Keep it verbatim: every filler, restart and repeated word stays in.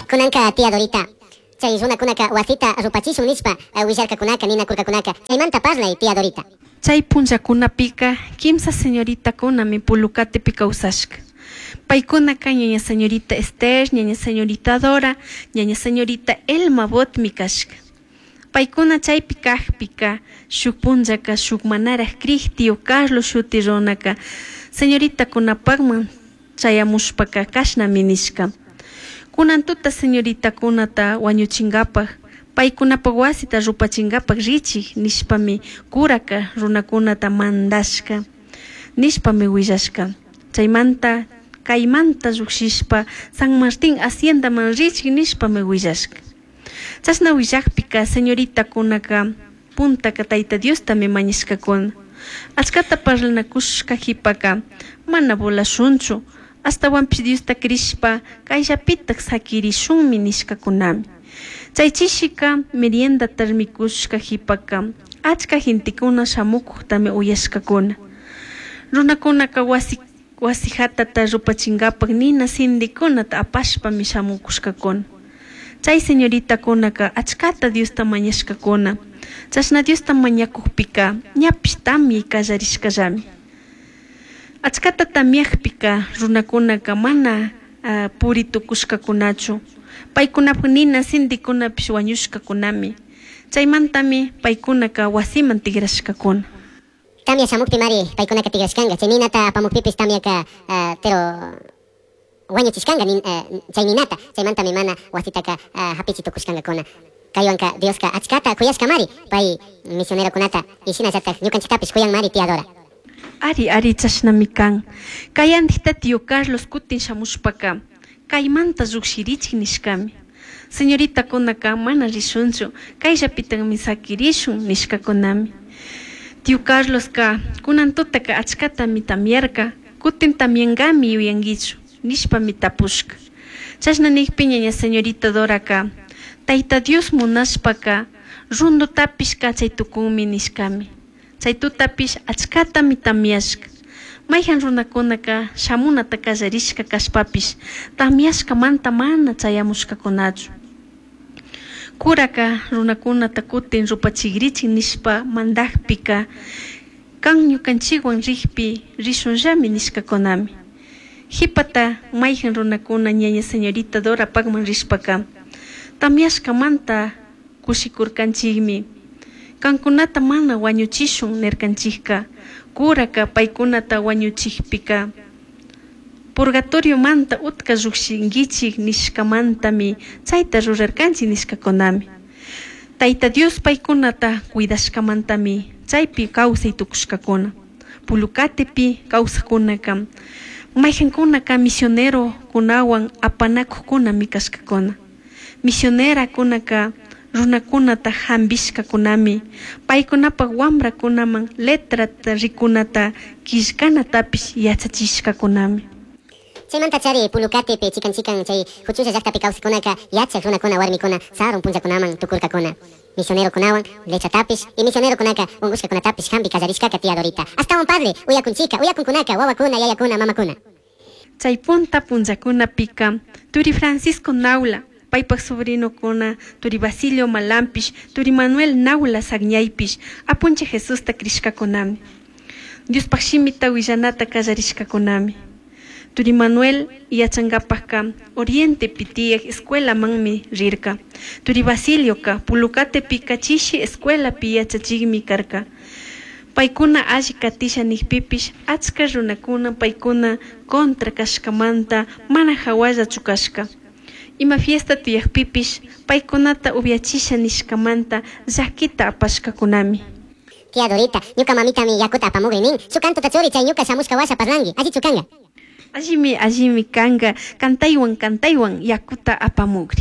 Kunanka tía Dorita. Chay runakunaka wasita rupachishun nishpa willarkakunaka ninakurkakunaka. Chaymanta parlay tía Dorita. Chay punllakunapika kimsa señoritakunami Pulucatepi kawsashka. Paykunaka ñaña señorita Esther, ñaña señorita Dora, ñaña señorita Elma Botmi kashka. Paykuna chaypi kajpika shuk punllaka shuk manaraj krij tío Carlos shuti runaka señoritakunapakman chayamushpaka kashnami nishka. Kunan tuta señoritakunata wañuchinkapak paykunapak wasita rupachinkapak richik nishpami kuraka runakunata mandashka nishpami willashka. Chaymanta kaymanta llukshishpa San Martín haciendaman richik nishpami willashka. Chashna willakpika señoritakunaka puntaka Tayta Diostami mañashkakuna. Achkata parlanakushka qhipaka mana volashunchu ashtawanpish Diosta krishpa kayllapitak sakirishunmi nishkakunami. Chay chishika meriendata mikushka qhipaka achka gentekuna shamukuktami uyashkakuna. Runakunaka wasi wasi hatata rupachinkapak nina sindikunata apashpami shamukushkakuna. Chay señoritakunaka achkata Diosta mañashkakuna. Chashna Diosta mañakukpika ñapish tamyay kallarishkallami. Achkata tamyakpika runakunaka mana uh, puri tukushkakunachu. Paykunapak nina sindikunapish wañushkakunami. Chaymantami paykunaka wasiman tigrashkakuna. Tamya shamukpi mari paykunaka tigrashkanga. Chay ninata apamukpipis tamyaka uh, pero wañuchishkanga nin, uh, chay ninata. Chaymantami mana wasitaka uh, hapichi tukushkankakuna. Kaywanka Dioska achkata kuyashka mari pay misionerokunata y shinallatak ñukanchiktapish kuyan mari tía Dora. Ari ari chashnami kan. Kayandikta tío Carlos kutin shamushpaka kaymanta llukshirichik nishkami. Señoritakunaka mana rishunchu kayllapitakmi sakirishun nishkakunami. Tío Carloska kunan tutaka achkatami tamyarka kutin tamyankami yuyankichu nishpami tapushka. Chashna nikpi ñaña señorita Doraka Tayta Dios munashpaka rundutapish kachay tukunmi nishkami. Chay tutapish achkatami tamyashka. Mayhan runakunaka shamunata kallarishka kashpapish tamyashkamanta mana chayamushkakunachu. Kuraka runakunata kutin rupachikrichik nishpa mandakpika kan ñukanchikwan rikpi rishunllami nishkakunami. Qhipata mayhan runakuna ñaña señorita Dorapakman rishpaka tamyashkamanta kushikurkanchikmi. Kankunata mana wañuchishun nirkanchikka kuraka paykunata wañuchikpika purgatoriomanta utka llukshinkichik nishkamantami chayta rurarkanchik nishkakunami. Tayta Dios paykunata cuidashkamantami chaypi kawsay tukushkakuna. Pulucatepi kawsaqkunaka mayqankunaka misionerokunawan apanakuqkunami kashkakuna. Misionerakunaka runakunata hampishkakunami paykunapak wamrakunaman letrata rikunata killkanatapish yachachishkakunami. Chaymanta chari Pulucatepi chikan chikan chay huchulla llaqtapi kawsaqkunaka yachaq runakuna warmikuna sarun punllakunaman tukurkakuna. Misionerokunawan letratapish y misionerokunaka unqushkakunatapish hampi kallarishkaka tía Dorita. Astawan padre uyakunchika uyakunkunaka wawakuna yayakuna mamakuna. Chay punta punllakunapika turi Francisco Naula paypak sobrinokuna turi Basilio Malampish turi Manuel Naula Sagñaypish apunchik Jesusta krishkakunami. Diospaq shimita willanata kallarishkakunami. Turi Manuel yachankapakka Orientepi tiyak escuelamanmi rirka. Turi Basilioka Pulucatepika chishi escuelapi yachachikmi karka. Paykuna alli katisha nikpipish achka runakuna paykuna contra kashkamanta mana hawallachu kashka. Ima fiesta tiyakpipish paykunata upyachisha nishkamanta llakita apashkakunami. Tía Dorita, ñuka mamitami yakuta apamugri nin. Shuk kantuta churi chay ñuka shamushka washa parlanki. Allichu kanka. Allimi allimi kanka kantaywan kantaywan yakuta apamugri.